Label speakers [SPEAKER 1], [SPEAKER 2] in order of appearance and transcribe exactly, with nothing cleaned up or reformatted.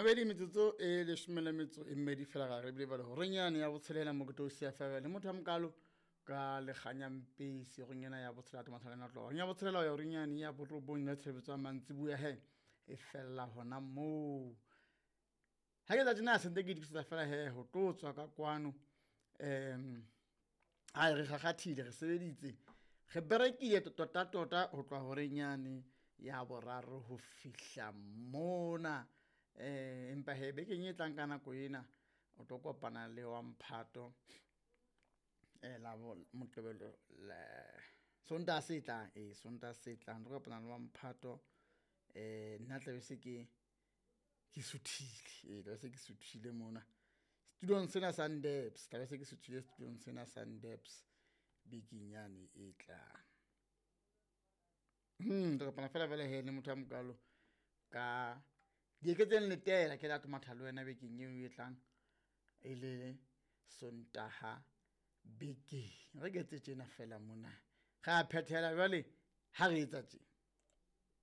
[SPEAKER 1] Mabedi metsotso e leshome le metso e mmedi fela ga re bile bale horeng yane ya botshelela mo ke tlo siya fela le motho a mokalo ka lekganyampesi horeng ena ya botshelela tomathalena tloha horeng ya botshelela ho ya horeng yane ya borobong ya tshebeletso ya mantsiboya he e fella hona moo. Ha ke tsa tjena sentse ke itokisetsa fela he ho tlo tswa ka kwano um ai re kgakgathile re sebeditse re berekile tota tota ho tloha horeng yane ya boraro ho fihla mona. Eh empa he bekeng e tlang ka nako ena o tlo kopana le wa mphato eh la Moqebelo le Sontaha se tlang, eh Sontaha se tlang tlo kopana le wa mphato eh nna tla be se ke ke suthile, eh tla be se ke suthile mona setulong sena sa Ndebs, tla be se ke suthile setulong sena sa Ndebs bekeng yane e tlang. Hmm re kopana fela jwale he le motho a mokalo ka dieketseng letela ke la tomatha le wena bekeng eo e tlang e le Sontaha bekeng. Re ke etse tjena fela mona re a phethela jwale ha re etsa tje.